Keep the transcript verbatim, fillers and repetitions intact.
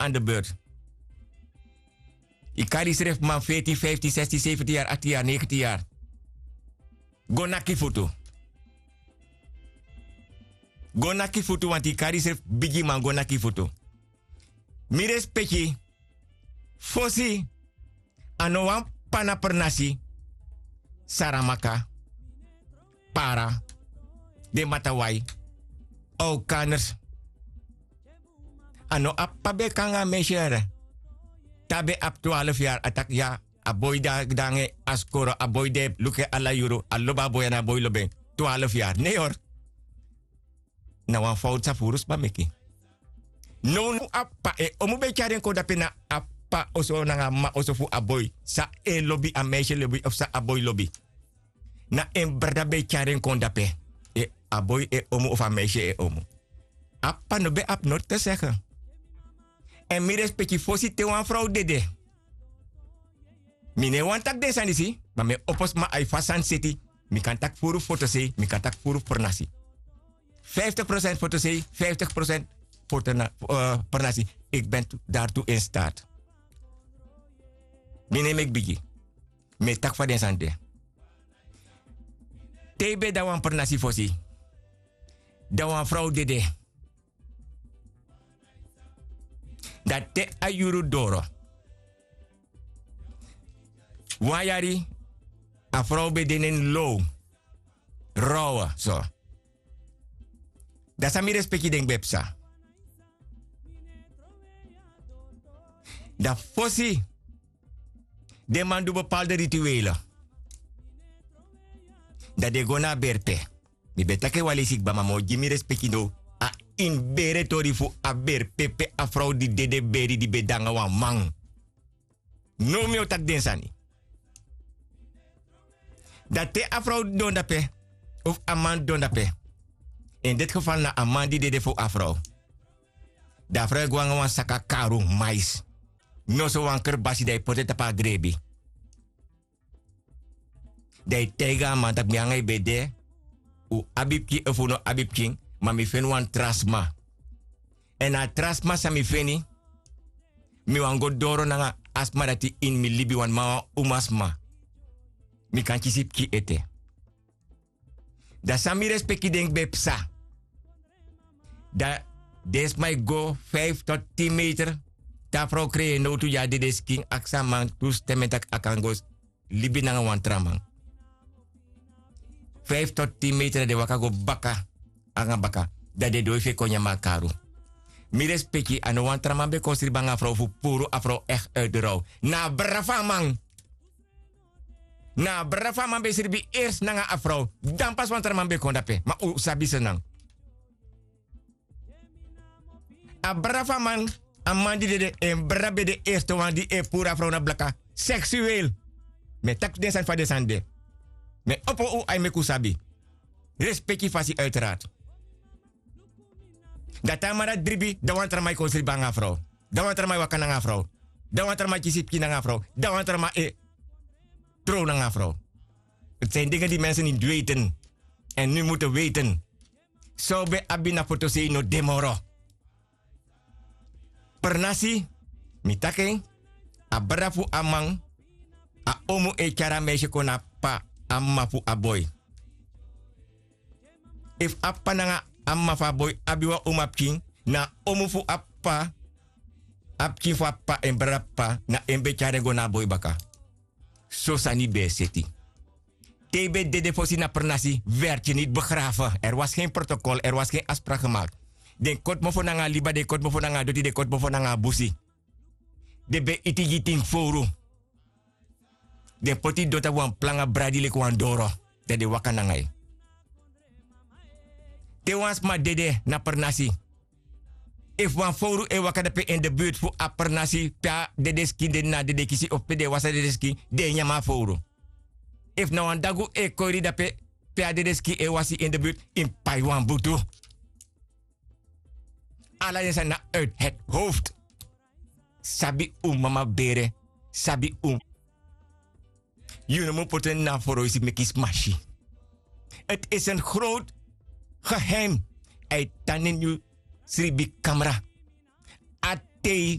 an de beurt. Yu kari yusrefi man fetin fiftin sestin sefentin yari aktin yari negentin yari. Go naki futu. Go naki futu wanti yu kari yusrefi bigiman go naki futu. Mi respeki. Fosi a no wan pana pernasi, saramaka, para, den matawai, okaners. A no abi p'pa ben e kon nanga a meisye yara. Te a ben abi twalfu yari a taki ya, a boi de nanga en a skoro, a boi de luku en ala yuru, a lobi a boi ya na a boi lobi en. Twalfu yari ne yor. Na wan fowtu san furu sma meki. Nownow a p'pa en omu ben e tyari en kon dape na a p'pa oso nanga a m'ma oso fu a boi san e lobi a meisye lobi of san a boi lobi. Na en brada ben e tyari en kon dape. A boi en omu of a meisye en omu. A p'pa no ben abi noti te sege. Èn mi respeki fosi te wan frow dede. Mi no e wani taki den sani disi ma mi e opo sma a e fasi sani seti. Mi kan taki furu fotosei mi kan taki furu fu pernasi. Vijftig procent fotosei, vijftig procent pernasi. Ik ben dari tu in staat. Mi no e meki bigi. Mi e taki fa den sani de. Te yu ben de na wan pernasi fosi, dan wan frow dede. Dan te a yuru doro, wan yari a frow ben de na en low, rowe so. Dan san mi respeki denki ben psa? Dan fosi den man du bepalde rituele, dan den go na a berpe. Mi ben taki en wan leisi kba ma mi o gi mi respeki now. A ini bere tori fu a berpe pe a frow di dede beri di ben de nanga wan man. Now mi o taki den sani. Dan te a frow didon dape, of a man didon dape, en deti gefal na a man di dede fu a frow, dan a frow e go nanga wan saka karu, mais, noso wan kerbasi dan e poti en tapu a grebi. Dan e taigi a man tak' mi nanga yu ben de. Un abi pikin efu un no abi pikin, ma mi feni wan tra sma. Èn na a tra sma san mi feni, mi wani go doro nanga a sma dati ini mi libi wan man wan umasma. Mi kan kisi pikin ete. Dan san mi respeki denki ben psa? Dan den sma e go fif tot tin meter. Te a frow krei en nowtu gi a dedeskin aksi a man tu stemen tak' a kan go libi nanga wan tra man. Fif tot tin meter dan den waka go baka nanga baka. Dan den doi fu en kon nyan mi a karu. Mi respeki a no wan tra man ben kon sribi nanga a frow fu puru a frow ekti uitu row. Na a brada fu a man. Na a brada fu a man ben sribi ersi nanga a frow. Dan pasi wan tra man ben kon dape ma un sabi senan. A brada fu a man, a man di dede en brada ben de erste wan di e puru a frow na blaka. Seksuel. Mi e taki den sani fa den sani de. Mi e opo un ai meki un sabi. Respeki fasi uiterard. Dan te a man dati dribi dan wan tra man e kon sribi nanga a frow. Dan wan tra man e waka nanga a frow. Dan wan tra man e kisi pikin nanga a frow. Dan wan tra man e trow nanga a frow. Eti san yu denge di mensen ni dweiten. Èn nu mutu weiten. San un ben abi na fotosei no de moro. Pernasi, mi taki en. A brada fu a man, a omu e tyari a meisye kon na a p'pa, a m'ma fu a boi. Efu a p'pa nanga a m'ma fu a boi abi wan umapikin, na a omu fu a p'pa, a pikin fu a p'pa en brada p'pa na en ben tyari en go na a boi baka. So sani ben e seti. Te yu ben dede fosi na pernasi, werti niti begrafe. Er was gen protokol, er was gen asprak gemakt. Den koti mofo nanga a liba den koti mofo nanga a doti den koti mofo nanga a busi. Den ben iti gi yu tin fowru. Den poti yu don tapu wan planga bradi leki wan doro, dan den waka nanga yu. Te wan sma dede na pernasi, efu wan fowru e waka dape ini de burtu fu a pernasi pe a dedeskin de na a dedekisi ofu pe den e wasi a dedeskin, den e nyan mi a fowru. Efu na wan dagu e koiri dape pe a dedeskin e wasi ini de burtu, yu mus pai wan butu. Ala den sani na uit het howftu. Sabi un mama bere, sabi un. Yu no mu poti en na a foroisi meki sma si. Eti esi en growtu geheim. A e tan na ini yu sribikamra. A tei